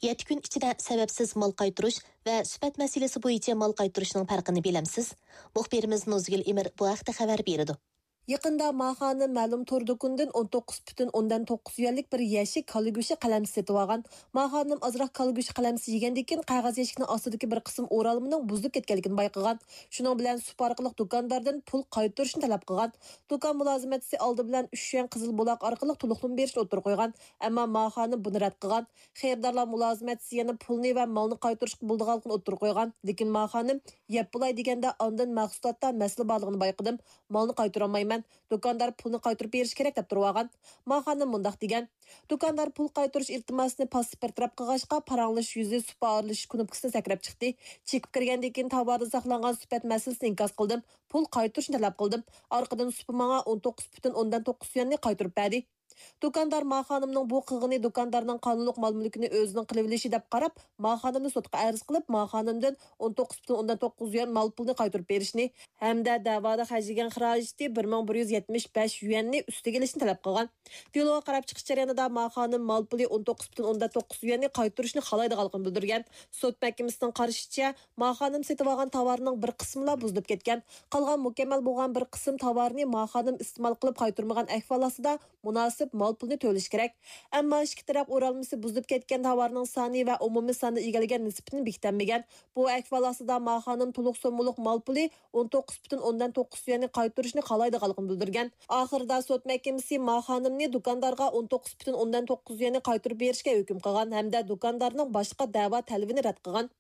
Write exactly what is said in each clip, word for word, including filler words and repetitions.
يەتتە كۈن ئىچىدە سەۋەبسىز مال قايتۇرۇش ۋە سۈپەت مەسىلىسى بويىچە مال قايتۇرۇشنىڭ پەرقىنى بىلەمسىز؟ مۇخبىرىمىز نۇزگۈل ئىمىر بۇ ھەقتە خەۋەر بېرىدۇ. يېقىندا ما خانىم مەلۇم تور دۇكىنىدىن ئون توققۇز پۈتۈن ئوندىن توققۇز يۈەنلىك بىر يەشىك كالا گۆشى قەلەمچىسى سېتىۋالغان. ما خانىم ئازراق كالا گۆشى قەلەمچىسى يېگەندىن كېيىن، قەغەز يەشىكنىڭ ئاستىدىكى بىر قىسىم ئورالمىنىڭ بۇزۇلۇپ كەتكەنلىكىنى بايقىغان. شۇنىڭ بىلەن سۇپا ئارقىلىق دۇكانداردىن پۇل قايتۇرۇشنى تەلەپ قىلغان. دۇكان مۇلازىمەتچىسى ئالدى بىلەن ئۈچ يۈەن قىزىل بۇلاق ئارقىلىق تولۇقلىما بېرىشنى ئوتتۇرىغا قويغان، ئەمما ما خانىم بۇنى رەت قىلغان. خېرىدارلار مۇلازىمەتچىسى يەنە پۇلنى ۋە مالنى قايتۇرۇشقا بولىدىغانلىقىنى ئوتتۇرىغا قويغان، لېكىن ما خانىم يەپ بولاي دېگەندە، ئاندىن مەھسۇلاتتا مەسىلە بارلىقىنى بايقىدىم، مالنى قايتۇرالمايمەن، دۇكاندار پۇلنى قايتۇرۇپ بېرىشى كېرەك دەپ تۇرۇۋالغان. ما خانىم مۇنداق دېگەن، دۇكاندار پۇل قايتۇرۇش ئىلتىماسىنى پاسسىپ بىر تەرەپ قىلغاچقا، پاراڭلىشىش يۈزى سۇپا ئارىلىشىش كۇنۇپكىسىنى سەكرەپ چىقتى. چېكىپ كىرگەندىن كېيىن تاۋاردا ساقلانغان سۈپەت مەسىلىسىنى ئىنكاس قىلدىم، پۇل قايتۇرۇشنى تەلەپ قىلدىم. ئارقىدىن سۇپا ماڭا ئون توققۇز پۈتۈن ئوندىن توققۇز يۈەننى قايتۇرۇپ بەردى. دۇكاندار ما خانىمنىڭ بۇ قىلغىنى دۇكاندارنىڭ قانۇنلۇق مال-مۈلكىنى ئۆزىنىڭ قىلىۋېلىشى دەپ قاراپ، ما خانىمنى سوتقا ئەرز قىلىپ، ما خانىمدىن ئون توققۇز پۈتۈن ئوندىن توققۇز يۈەن مال پۇلىنى قايتۇرۇپ بېرىشنى ھەمدە دەۋادا خەجلىگەن خىراجىتى بىر مىڭ بىر يۈز يەتمىش بەش يۈەننى ئۈستىگە ئېلىشنى تەلەپ قىلغان. دېلوغا قاراپ چىقىش جەريانىدا ما خانىم مال پۇلى ئون توققۇز پۈتۈن ئوندىن توققۇز يۈەننى قايتۇرۇشنى خالايدىغانلىقىنى بىلدۈرگەن. سوت مەھكىمىسىنىڭ قارىشىچە، ما خانىم سېتىۋالغان تاۋارنىڭ بىر قىسمىلا بۇزۇلۇپ كەتكەن. قالغان مۇكەممەل بولغان بىر قىسىم تاۋارنى ما خانىم ئىستېمال قىلىپ قايتۇرمىغان ئەھۋال ئاستىدا مۇناسىپ مال پۇلنى تۆلىشى كېرەك. ئەمما ئىككى تەرەپ ئورالمىسى بۇزۇلۇپ كەتكەن تاۋارنىڭ سانى ۋە ئومۇمىي ساندا ئىگىلىگەن نىسبىتىنى بېكىتەلمىگەن. بۇ ئەھۋال ئاستىدا ما خانىم تولۇق سوممىلىق مال پۇلى ئون توققۇز پۈتۈن ئوندىن توققۇز يۈەننى قايتۇرۇشنى خالايدىغانلىقىنى بىلدۈرگەن. ئاخىرىدا سوت مەھكىمىسى ما خانىمنى دۇكاندارغا ئون توققۇز پۈتۈن ئوندىن توققۇز يۈەننى قايتۇرۇپ بېرىشكە ھۆكۈم قىلغان ھەمدە دۇكاندارنىڭ باشقا دەۋا تەلىپىنى رەت قىلغان.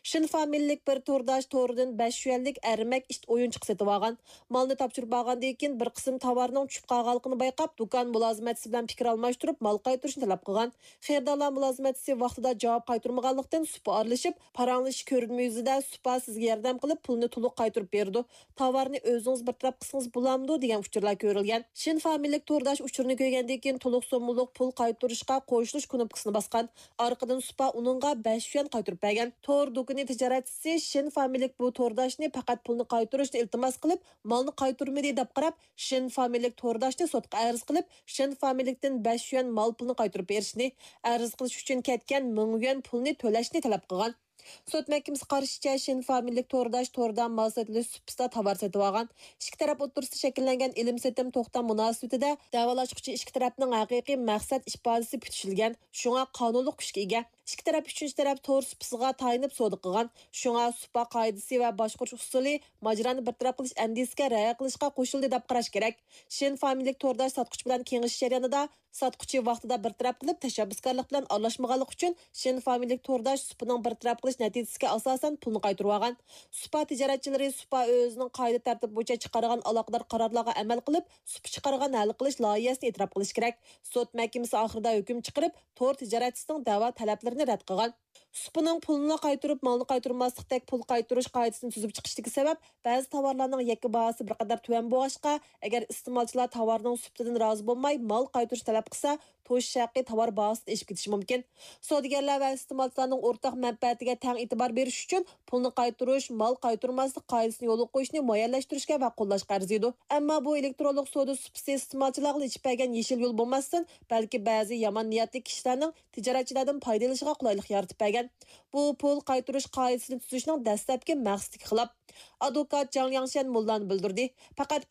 شىن فامىلىلىك بىر تورداش تورىدىن بەش يۈەنلىك ئەرمەك ئىت ئويۇنچۇقى سېتىۋالغان. مالنى تاپشۇرۇپ بارغاندىن كېيىن، بىر قىسىم تاۋارنىڭ چۈشۈپ قالغانلىقىنى بايقاپ، دۇكان مۇلازىمەتچىسى بىلەن پىكىر ئالماشتۇرۇپ، مال قايتۇرۇشنى تەلەپ قىلغان. خېرىدارلار مۇلازىمەتچىسى ۋاقتىدا جاۋاب قايتۇرمىغانلىقتىن، سۇپا ئارىلىشىپ، پاراڭلىشىش كۆرۈنمە يۈزىدە سۇپا سىزگە ياردەم قىلىپ، پۇلنى تولۇق قايتۇرۇپ بېرىدۇ، تاۋارنى ئۆزىڭىز بىر تەرەپ قىلسىڭىز بولامدۇ؟ دېگەن ئۇچۇرلار كۆرۈلگەن. شىن فامىلىلىك تورداش ئۇچۇرنى كۆرگەندىن كېيىن، تولۇق سوممىلىق پۇل قايتۇرۇشقا قوشۇلۇش كۇنۇپكىسىنى باسقان. ئارقىدىن سۇپا ئۇنىڭغا بەش يۈەن قايتۇرۇپ بەرگەن. تور دۇكىنى تىجارەتچىسى شىن فامىلىلىك بۇ تورداشنى پەقەت پۇلنى قايتۇرۇشنى ئىلتىماس قىلىپ، مالنى قايتۇرمىدى دەپ قاراپ، شىن فامىلىلىك تورداشنى سوتقا ئەرز قىلىپ، شىن فامىلىلىكتىن بەش يۈەن مال پۇلنى قايتۇرۇپ بېرىشنى، ئەرز قىلىش ئۈچۈن كەتكەن مىڭ يۈەن پۇلنى تۆلەشنى تەلەپ قىلغان. سوت مەھكىمىسى قارىشىچە، شىن فامىلىلىك تورداش توردا مال سېتىلىش سۇپىسىدا تاۋار سېتىۋالغان. ئىككى تەرەپ ئوتتۇرىسىدا شەكىللەنگەن ئېلىم-سېتىم توختام مۇناسىۋىتىدە دەۋالاشقۇچى ئىككى تەرەپنىڭ ھەقىقىي مەقسەت ئىپادىسى پۈتۈشۈلگەن، شۇڭا قانۇنلۇق كۈچكە ئىگە. ئىككى تەرەپ ئۈچىنچى تەرەپ تور سۇپىسىغا تايىنىپ سودا قىلغان، شۇڭا سۇپا قائىدىسى ۋە باشقۇرۇش ئۇسۇلى ماجىرانى بىر تەرەپ قىلىش ئەندىزىسىگە رىئايە قىلىشقا قوشۇلدى دەپ قاراش كېرەك. شىن فامىلىلىك تورداش ساتقۇچى بىلەن كېڭىشىش جەريانىدا، ساتقۇچى ۋاقتىدا بىر تەرەپ قىلىپ، تەشەببۇسكارلىق بىلەن ئارىلاشمىغانلىقى ئۈچۈن، شىن فامىلىلىك تورداش سۇپىنىڭ بىر تەرەپ قىلىش نەتىجىسىگە ئاساسەن پۇلنى قايتۇرۇۋالغان. سۇپا تىجارەتچىلىرى سۇپا ئۆزىنىڭ قائىدە تەرتىپ بويىچە چىقارغان ئالاقىدار قارارلارغا ئەمەل قىلىپ، سۇپا چىقارغان ھەل قىلىش لايىھەسىنى ئېتىراپ قىلىشى كېرەك. سوت مەھكىمىسى ئاخىرىدا ھۆكۈم چىقىرىپ، تور تىجارەتچىسىنىڭ دەۋا تەلەپلىرىنى رەت قىلغان. سۇپىنىڭ پۇلنىلا قايتۇرۇپ، مالنى قايتۇرماسلىقتەك پۇل قايتۇرۇش قائىدىسىنى تۈزۈپ چىقىشتىكى سەۋەب، بەزى تاۋارلارنىڭ يەككە باھاسى بىر قەدەر تۆۋەن بولغاچقا، ئەگەر ئىستېمالچىلار تاۋارنىڭ سۈپىتىدىن رازى بولماي، مال قايتۇرۇش تەلەپ قىلسا، توشۇش ھەققى تاۋار باھاسىدىن ئېشىپ كېتىشى مۇمكىن. سودىگەرلەر ۋە ئىستېمالچىلارنىڭ ئورتاق مەنپەئەتىگە تەڭ ئېتىبار بېرىش ئۈچۈن، پۇلنى قايتۇرۇش، مال قايتۇرماسلىق قائىدىسىنى يولغا قويۇشنى مۇئەييەنلەشتۈرۈشكە ۋە قوللاشقا ئەرزىيدۇ. ئەمما بۇ ئېلېكترونلۇق سودا سۇپىسى ئىستېمالچىلارغا ئېچىپ بەرگەن يېشىل يول بولماستىن، بەلكى بەزى يامان نىيەتلىك كىشىلەرنىڭ تىجارەتچىلەردىن پايدىلىنىشىغا قولايلىق يارىتىپ بەرگەن. بۇ پۇل قايتۇرۇش قائىدىسىنى تۈزۈشنىڭ دەسلەپكى مەقسىتىگە خىلاپ. ئادۋوكات جاڭ لياڭشەن مۇنۇلارنى بىلدۈردى، پەقەت